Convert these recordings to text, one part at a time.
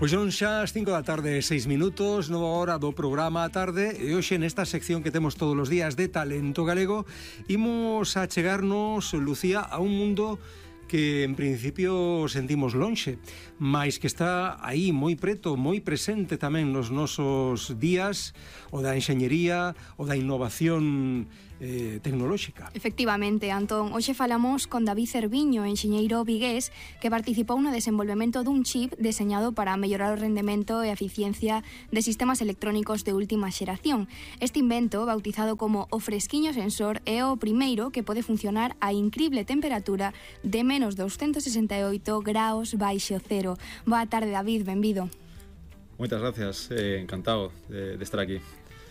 Pois son xa as 5 da tarde, 6 minutos, nova hora do programa a tarde, e hoxe nesta sección que temos todos os días de Talento Galego imos a chegarnos, Lucía, a un mundo que en principio sentimos lonxe, mais que está aí moi preto, moi presente tamén nos nosos días, o da enxeñería, o da innovación tecnolóxica. Efectivamente, Antón, hoxe falamos con David Cerviño, enxeñeiro vigués, que participou no desenvolvemento dun chip deseñado para mellorar o rendemento e a eficiencia de sistemas electrónicos de última xeración. Este invento, bautizado como o fresquiño sensor, é o primeiro que pode funcionar a incrible temperatura de menos 268 graus baixo cero. Boa tarde, David, benvido. Moitas gracias, encantado de estar aquí.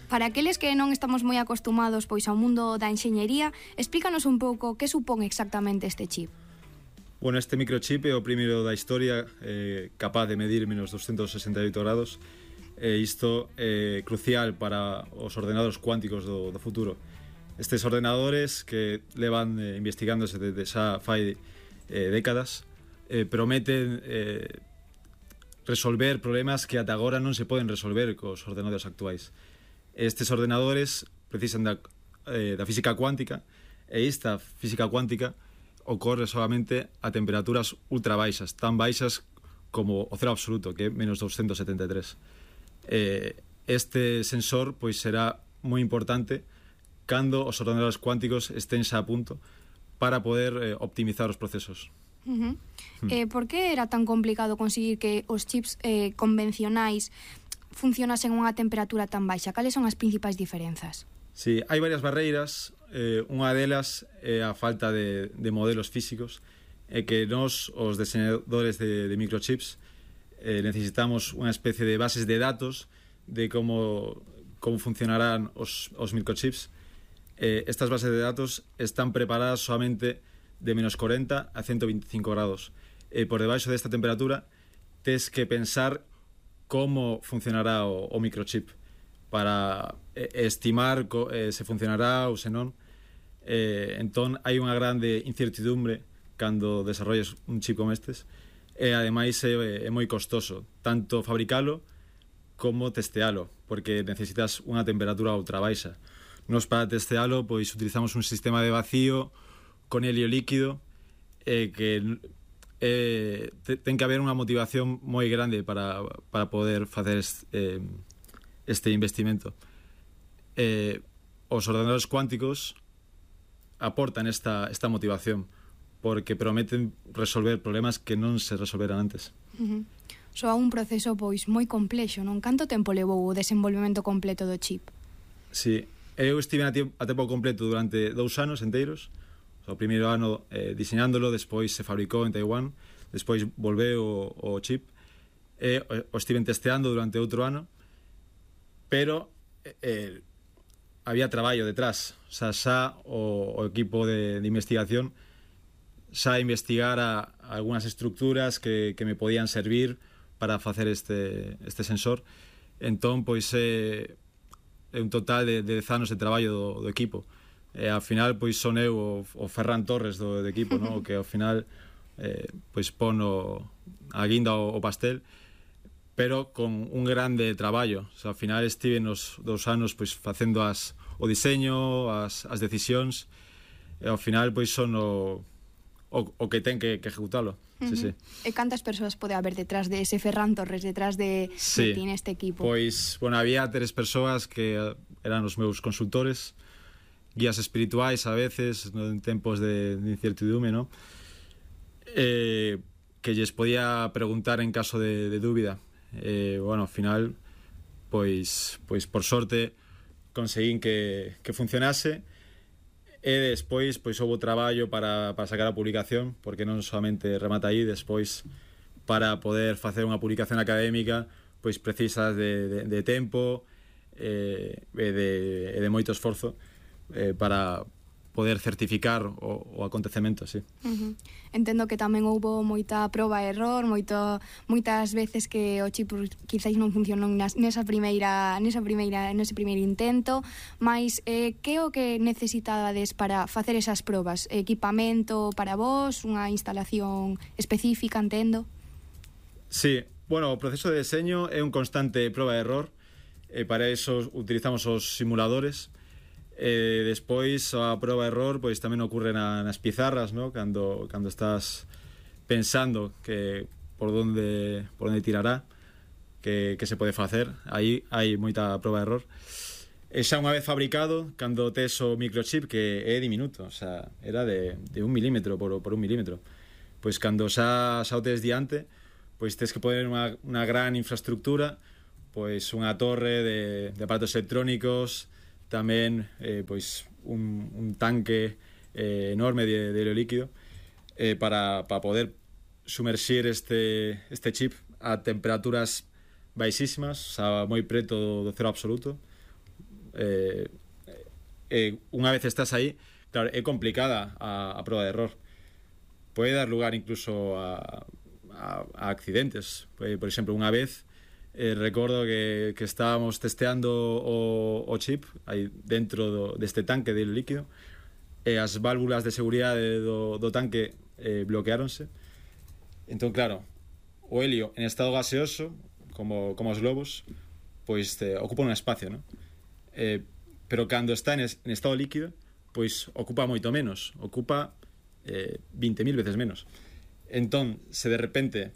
Para aqueles que non estamos moi acostumados pois ao mundo da enxeñería, explícanos un pouco que supón exactamente este chip. Bueno, este microchip é o primeiro da historia capaz de medir menos 268 grados, e isto é crucial para os ordenadores cuánticos do futuro. Estes ordenadores que levan investigándose desde xa fai décadas prometen resolver problemas que ata agora non se poden resolver cos ordenadores actuais. Estes ordenadores precisan da física cuántica, e esta física cuántica ocorre solamente a temperaturas ultra baixas, tan baixas como o cero absoluto, que é menos 273. Este sensor pois será moi importante cando os ordenadores cuánticos estén xa a punto para poder optimizar os procesos. Por que era tan complicado conseguir que os chips convencionais funcionasen a unha temperatura tan baixa? Cales son as principais diferenzas? Sí, hai varias barreiras. Unha delas é a falta de modelos físicos, e que nós, os diseñadores de microchips, necesitamos unha especie de bases de datos de como funcionarán os microchips. Estas bases de datos están preparadas solamente de menos 40 a 125 grados. Por debaixo desta temperatura tes que pensar como funcionará o microchip para estimar se funcionará ou se non. Entón hai unha grande incertidumbre cando desarrolles un chip como estes, e ademais é moi costoso tanto fabricalo como testealo, porque necesitas unha temperatura ultra baixa. Nos para testealo pois utilizamos un sistema de vacío con helio líquido, que ten que haber unha motivación moi grande para poder facer este investimento. Os ordenadores cuánticos aportan esta motivación, porque prometen resolver problemas que non se resolveran antes. Soa un proceso pois moi complexo, non? Canto tempo levou o desenvolvemento completo do chip? Sí, eu estive a tempo completo durante 2 anos enteiros. O primeiro ano diseñándolo, despois se fabricou en Taiwán, despois volveu o chip, e o estiven testeando durante outro ano, pero había traballo detrás. O sea, xa o equipo de investigación xa investigara algunhas estructuras que me podían servir para facer este sensor. Entón, pois é un total de 10 anos de traballo do equipo. E ao final pois son eu o Ferran Torres do equipo, no? Que ao final pois pon a guinda o pastel, pero con un grande traballo. O sea, ao final estive nos 2 anos pois facendo o diseño, as decisións, e ao final pois son o que ten que ejecutalo. Sí. E cantas persoas pode haber detrás de ese Ferran Torres, detrás de ti neste equipo? Pois, bueno, había 3 persoas que eran os meus consultores, guías espirituais a veces, en tempos de incertidumbre, ¿no? Que lles podía preguntar en caso de dúbida. Bueno, ao final pois por sorte conseguín que funcionase, e despois pois houve traballo para sacar a publicación, porque non solamente remata aí. Despois, para poder facer unha publicación académica, pois precisas de tempo e de moito esforzo para poder certificar o acontecemento, sí. Entendo que tamén houbo moita proba e error, moitas veces que o chip quizáis non funcionou nese primeiro intento, mas que o que necesitades para facer esas probas? Equipamento para vos, unha instalación específica, entendo? Sí, Bueno, o proceso de deseño é un constante proba e error. Para eso utilizamos os simuladores. Despois a proba e error pois tamén ocorre nas pizarras, ¿no? Cando estás pensando que por onde tirará, que se pode facer, aí hai moita proba e error. E xa unha vez fabricado, cando tes o microchip, que é diminuto, o sea, era de 1 milímetro por 1 milímetro, pois cando xa o tes diante, pois tes que poner unha gran infraestructura, pois unha torre de aparatos electrónicos, tamén pois un tanque enorme de helio líquido para poder sumerxir este chip a temperaturas baixísimas, o sea, moi preto do cero absoluto. Unha vez estás aí, claro, é complicada a proba de error. Pode dar lugar incluso a accidentes. Por exemplo, unha vez recordo que estábamos testeando o chip aí dentro deste tanque de líquido e as válvulas de seguridade do tanque bloqueáronse. Entón, claro, o helio en estado gaseoso, como os globos, pois ocupa un espacio, ¿no? Pero cando está en estado líquido, pois ocupa moito menos, ocupa 20.000 veces menos. Entón, se de repente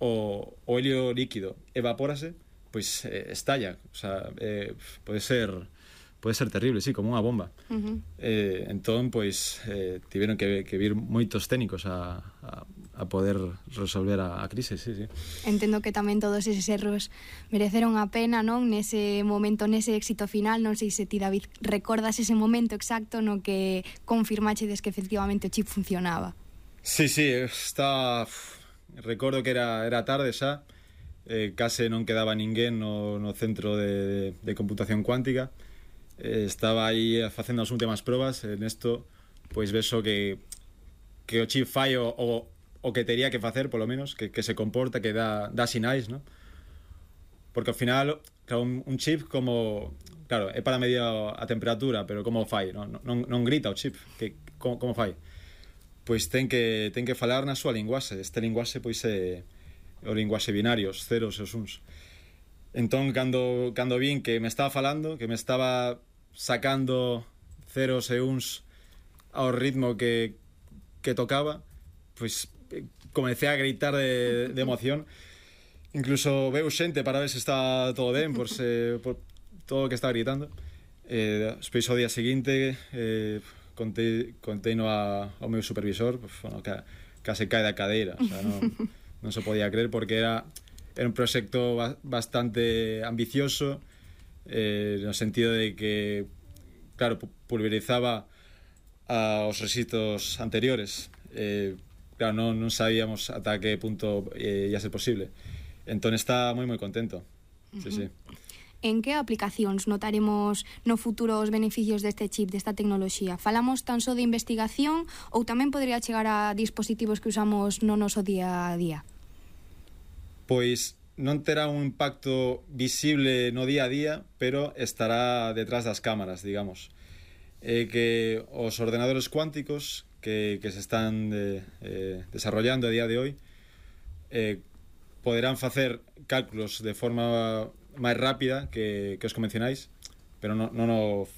o helio líquido evapórase, pois estalla, o sea, pode ser terrible, sí, como unha bomba. Entón, pois tiveron que vir moitos técnicos a poder resolver a crise, sí. Entendo que tamén todos eses erros mereceron a pena, non? Nese momento, nese éxito final, non sei se ti, David, recordas ese momento exacto no que confirmachedes que efectivamente o chip funcionaba. Sí, recordo que era tarde xa, case non quedaba ninguén no centro de computación cuántica. Estaba aí facendo as últimas probas. Nesto, pois vexo que o chip fai o que tería que facer, polo menos, que se comporta, que dá sinais, ¿no? Porque ao final, claro, un chip como... Claro, é para medir a temperatura, pero como fai? Non grita o chip, como fai? Pois ten que falar na súa linguaxe. Este linguaxe pois é o linguaxe binario, os ceros e os uns. Entón, cando vin que me estaba falando, que me estaba sacando ceros e uns ao ritmo que tocaba, pois comecei a gritar de emoción. Incluso veu xente para ver se está todo ben por todo o que estaba gritando. Despois ao día seguinte conteino ao meu supervisor, pues, bueno, case cae da cadeira, o sea, non se podía creer, porque era un proxecto bastante ambicioso, no sentido de que, claro, pulverizaba aos rexistros anteriores. Claro, non sabíamos ata que punto ia ser posible. Entón está moi contento. Sí. En que aplicacións notaremos no futuro os beneficios deste chip, desta tecnoloxía? Falamos tan só de investigación ou tamén podría chegar a dispositivos que usamos no noso día a día? Pois non terá un impacto visible no día a día, pero estará detrás das cámaras, digamos. Que os ordenadores cuánticos que se están desarrollando a día de hoy poderán facer cálculos de forma máis rápida que os convencionais, pero non o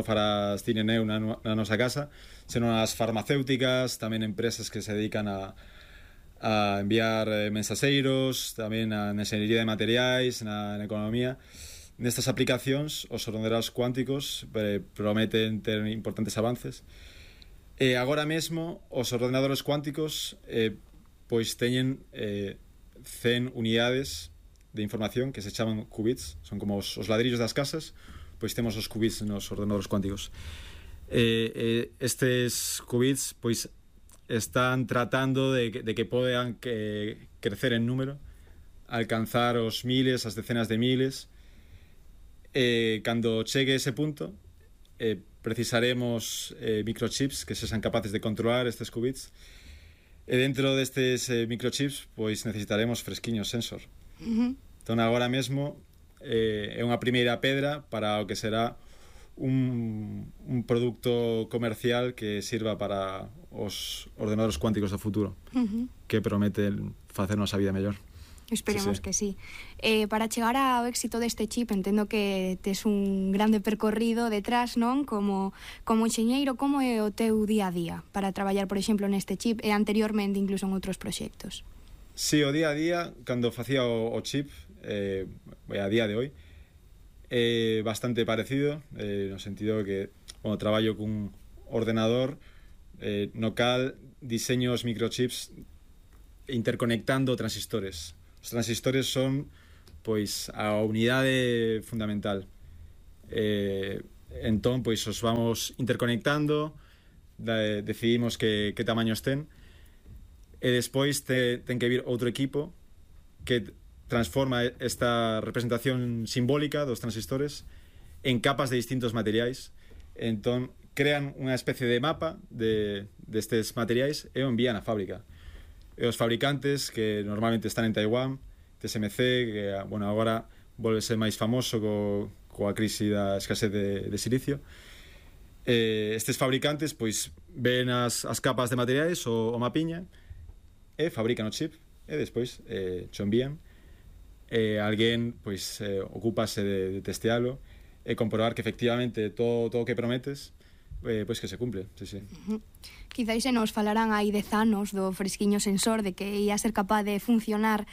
farás ti nen eu na nosa casa, senón as farmacéuticas, tamén empresas que se dedican a enviar mensaseiros, tamén na enxeñería de materiais, na economía. Nestas aplicacións, os ordenadores cuánticos prometen ter importantes avances. Agora mesmo, os ordenadores cuánticos pois teñen 100 unidades de información que se chaman qubits, son como os ladrillos das casas, pois temos os qubits nos ordenadores cuánticos. Estes qubits pois están tratando de que podan crecer en número, alcanzar os miles, as decenas de miles. Cando chegue ese punto, precisaremos microchips que sexan capaces de controlar estes qubits, e dentro destes microchips pois necesitaremos fresquiños sensor. Entón agora mesmo é unha primeira pedra para o que será un produto comercial que sirva para os ordenadores cuánticos do futuro, que prometen facernos a vida mellor. Esperemos que sí. Para chegar ao éxito deste chip, entendo que tes un grande percorrido detrás, non? Como enxeñeiro, como é o teu día a día para traballar, por exemplo, neste chip e anteriormente incluso en outros proxectos? Sí, o día a día, cando facía o chip, a día de hoy, é bastante parecido, no sentido que, traballo cun ordenador no cal diseño os microchips interconectando transistores. Os transistores son, pois, a unidade fundamental. Entón, pois, os vamos interconectando, decidimos que tamaños ten, e despois ten que vir outro equipo que transforma esta representación simbólica dos transistores en capas de distintos materiais. Entón, crean unha especie de mapa destes materiais e o envían á fábrica. E os fabricantes, que normalmente están en Taiwán, TSMC, que agora volvese máis famoso coa crise da escasez de silicio, estes fabricantes pois ven as capas de materiais, o mapiña, e fabrican o chip, e despois cho envían, alguén pois ocúpase de testealo e comprobar que efectivamente todo o que prometes pois que se cumple, sí. Quizáis se nos falarán hai 10 anos do fresquiño sensor, de que ia ser capaz de funcionar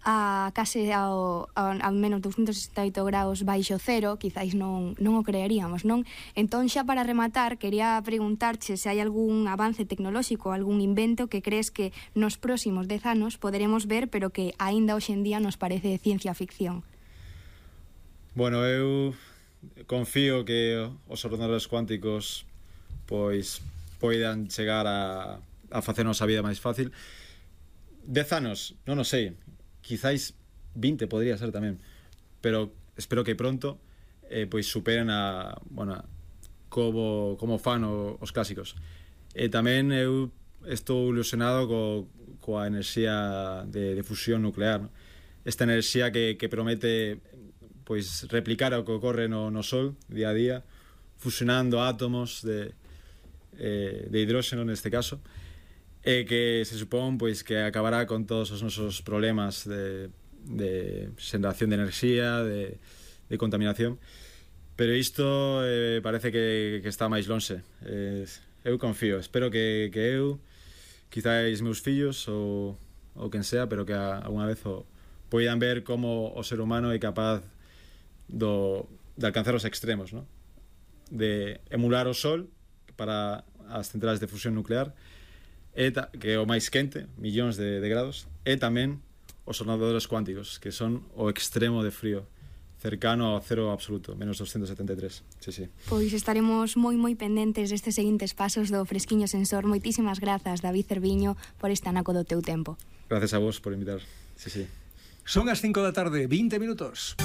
a case ao menos 268 graus baixo cero, quizáis non o creeríamos, non? Entón, xa para rematar, quería preguntarche se hai algún avance tecnolóxico, algún invento que crees que nos próximos 10 anos poderemos ver, pero que aínda hoxe en día nos parece ciencia ficción. Bueno, eu confío que os ordenadores cuánticos pois poidan chegar a facernos a vida máis fácil. 10 anos, non o sei, quizáis 20 podría ser tamén, pero espero que pronto pois superen como fan os clásicos. E tamén eu estou ilusionado coa enerxía de fusión nuclear, ¿no? Esta enerxía que promete pois replicar o que ocorre no Sol día a día, fusionando átomos de hidróxeno neste caso, e que se supón pois que acabará con todos os nosos problemas de xeración de enerxía, de contaminación, pero isto parece que está máis lonxe. Eu confío, espero que eu, quizáis meus fillos ou quen sea, pero que alguna vez poidan ver como o ser humano é capaz de alcanzar os extremos, ¿no? De emular o Sol para as centrales de fusión nuclear, que é o máis quente, millóns de grados, e tamén os ordenadores cuánticos, que son o extremo de frío, cercano ao cero absoluto, menos 273. Sí. Pois estaremos moi pendentes destes seguintes pasos do fresquiño sensor. Moitísimas grazas, David Cerviño, por este anaco do teu tempo. Gracias a vos por invitar. Sí. Son as 5 da tarde, 20 minutos.